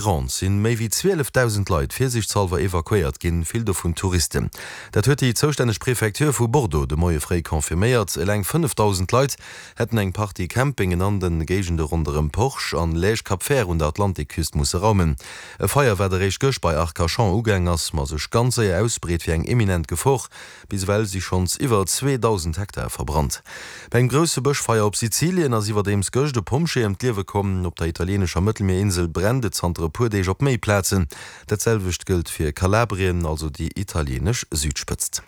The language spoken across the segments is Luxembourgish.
Gironde sinn méi wéi 12.000 Leit virsiichtshallwer evakuéiert ginn, vill dovun Touristen. Dat huet déi zoustänneg Prefecture vu Bordeaux de Moie fréi confirméiert. Eleng 5.000 Leit hätten eng Partie Campingen an de Géigende ronderëm Porge an Lège-Cap-Vert un der Atlantikküst musse raumen. E Feier, wat eréischt gëscht bei Arcachon ugaang ass, ma sech ganz séier ausbreet, wier eng eminent Gefor. Bis ewell si schonns iwwer 2.000 Hektar verbrannt. Bei engem grousse Bëschfeier op Sizilien ass iwwerdeems gëscht e Pompjee ëm d'Liewe komm. Op der italieenescher Mëttelmierinsel brennt et zanter e puer Deeg op méi Plazen. Dat selwecht gëllt fir Kalabrien, also déi italieenesch Südspëtzt.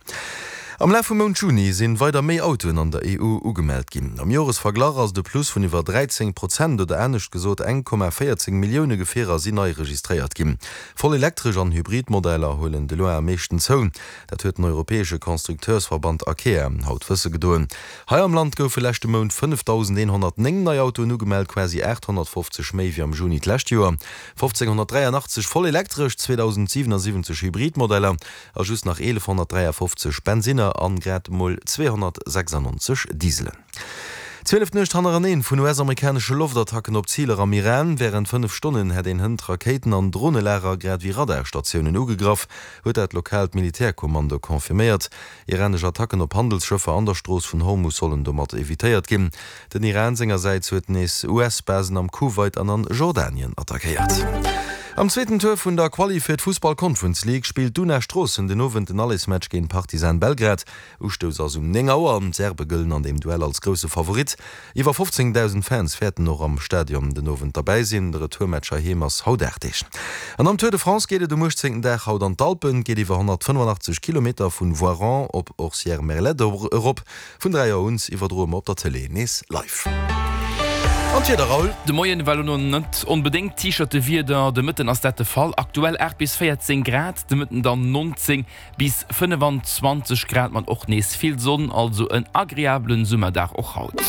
Am Laf vum Mount Juni sinn weider méi Autoen an der EU ugemellt ginn. Am Joresverglach ass et e Plus vun iwwer 13 Prozent oder anescht gesot 1,14 Millioune Gefierer sinn nei registréiert ginn. Voll elektresch an Hybrid Modeller huelen de loin am meeschten zou. Dat huet den europäesche Constructeursverband Acea haut wësse gedoen. Hei am Land goufe leschte Mount 5.109 nei Autoen ugemellt, quasi 850 méi wéi am Juni d'lescht Joer. 1.583 voll elektresch, 2.077 Hybridmodeller a just nach 1.153 Bensinner an grad emol 296 Dieselen. 12 Nuecht hannereneen vun US-amerikanesche Loftattacken op Ziler am Iran. Wärend 5 Stonnen hätt een hënt Rakéiten an Dronelager grad ewéi Radarstatiounen ugegraff, huet dat lokaalt Militärkommando confirméiert. Iranesch Attacken op Handelsschëffer an der Strooss vun Hormus sollen domat evitéiert ginn. Den Iran sengersäits huet nees US-Basen am Kuwait an an Jordanien attackéiert. Am zweeten Tour vun der Quali fir d'Fussball-Conference League spillt d'Una Stroossen den Owend den Allesmatch géint Partizan Belgrad. Ustouss ass um 9 Auer. D'Serbe gëllen an deem Duell als grousse Favorit. Iwwer 15.000 Fans wäerten och am Stadion den Owend derbäi sinn. De Retourmatch heiheem ass haut 8 Deeg. An am Tour de France geet et um 18. Dag haut an d'Alpen. Et geet iwwer 185 Kilometer vun Voiron op Orcières-Merlette erop. Vun 3 Auer un iwwerdroe mer op der Tëlee nees live. An d'Wieder, Raoul? De Moien war elo net onbedéngt T-Shirte-Wieder, de Mëtten ass dat de Fall. Aktuell 8 bis 14 Grad, de Mëtten dann 19 Bis 25 Grad mat och nees vill Sonn, also en agreablen Summerdag och haut.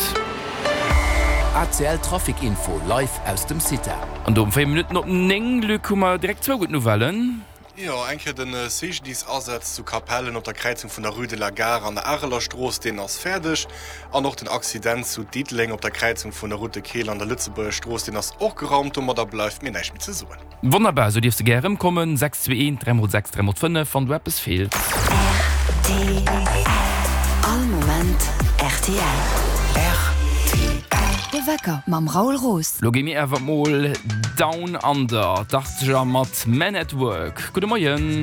ACL Trafic Info live aus dem CITA. An do um 4 Minutten op 9, Luc, hu mer direkt zwou gutt Nouvellen. Jo, eng Kéier de CGDIS-Asaz zu Capellen op der Kräizung vun der Rue de la Gare an der Arelerstrooss, deen ass fäerdeg. An och den Accident zu Diddeleng op der Kräizung vun der Route de Keel an der Lëtzebuerger Strooss, deen ass och geraumt. Domadder bleift mir näischt méi ze soen. Wonnerbar, sou dierfs de gär erëmkommen. 6 2 1 3 mol 6 3 mol 5, wann do eppes feelt. Rtl, All Moment rtl. Rtl. De Wecker mam Raoul Roos. Lo gi mir awer mol down under, d'Achtzeger mat Men at Work. Gudde Moien.